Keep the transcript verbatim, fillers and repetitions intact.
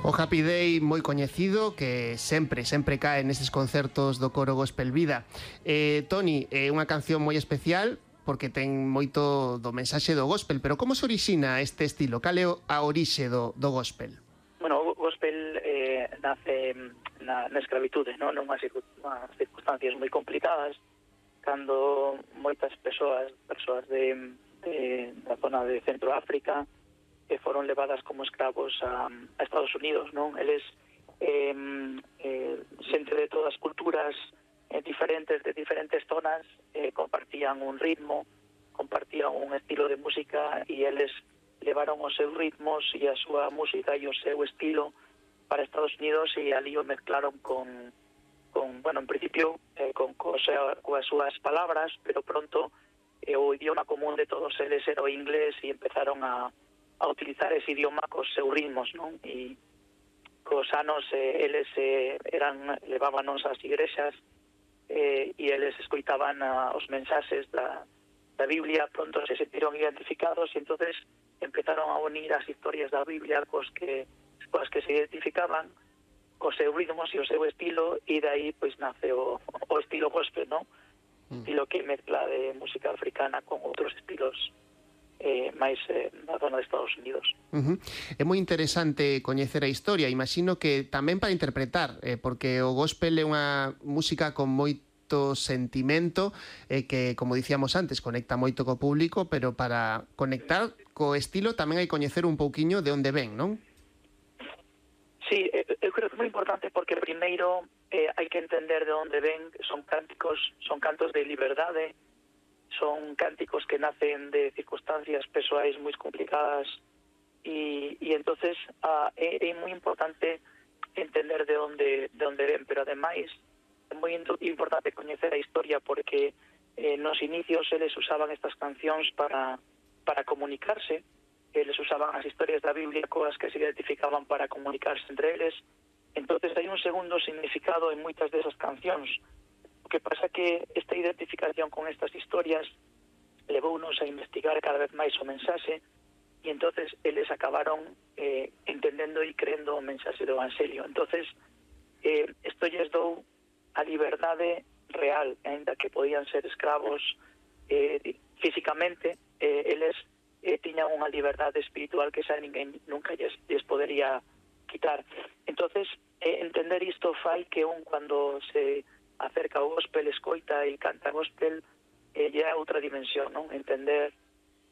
O Happy Day moi coñecido que sempre, sempre cae nestes concertos do coro Gospel Vida. Eh, Toni, é unha canción moi especial porque ten moito do mensaxe do gospel, pero como se orixina este estilo? Cal é a orixe do, do gospel? Bueno, o gospel eh, nace na, na escravitude, non? Nunhas circunstancias moi complicadas, cando moitas persoas, persoas de, de, da zona de Centroáfrica, que foron levadas como escravos a, a Estados Unidos, non? Eles, eh, eh, xente de todas as culturas eh, diferentes, de diferentes zonas, eh, compartían un ritmo, compartían un estilo de música, e eles levaron os seus ritmos e a súa música e o seu estilo para Estados Unidos, e ali o mezclaron con, con bueno, en principio, eh, con coas súas palabras, pero pronto eh, o idioma común de todos eles era o inglés, e empezaron a a utilizar ese idioma cos seus ritmos, non? E cos anos eh, eles eh, eran levábanos ás igrexas eh, e eles escoitaban a, os mensaxes da, da Biblia, pronto se sentiron identificados e entonces empezaron a unir as historias da Biblia cos que, cos que se identificaban, cos seus ritmos e o seu estilo, e dai pois nace o, o estilo gospel, non? Mm. Estilo que mezcla de música africana con outros estilos Eh, máis eh, na zona de Estados Unidos. Uh-huh. É moi interesante coñecer a historia, imagino que tamén para interpretar, eh, porque o gospel é unha música con moito sentimento, eh, que, como dicíamos antes, conecta moito co público, pero para conectar co estilo tamén hai que coñecer un pouquiño de onde ven, non? Sí, eu creo que é moi importante porque primeiro eh, hai que entender de onde ven, son cánticos, son cantos de liberdade, son cánticos que nacen de circunstancias persoais moi complicadas, e, e entonces ah, é, é moi importante entender de onde, de onde ven, pero ademais é moi importante coñecer a historia, porque eh, nos inicios eles usaban estas cancións para, para comunicarse, eles usaban as historias da Biblia coas que se identificaban para comunicarse entre eles, entonces hai un segundo significado en moitas desas cancións. O que pasa que esta identificación con estas historias levounos a investigar cada vez máis o mensaxe, e entonces eles acabaron eh, entendendo e creendo o mensaxe do Evangelio. Entonces, eh, isto lles dou a liberdade real, ainda que podían ser escravos eh, físicamente, eh, eles eh, tiñan unha liberdade espiritual que xa ninguén nunca lles, lles podería quitar. Entonces, eh, entender isto fai que un, cando se acerca o gospel, escoita e canta gospel, eh, é outra dimensión, non? Entender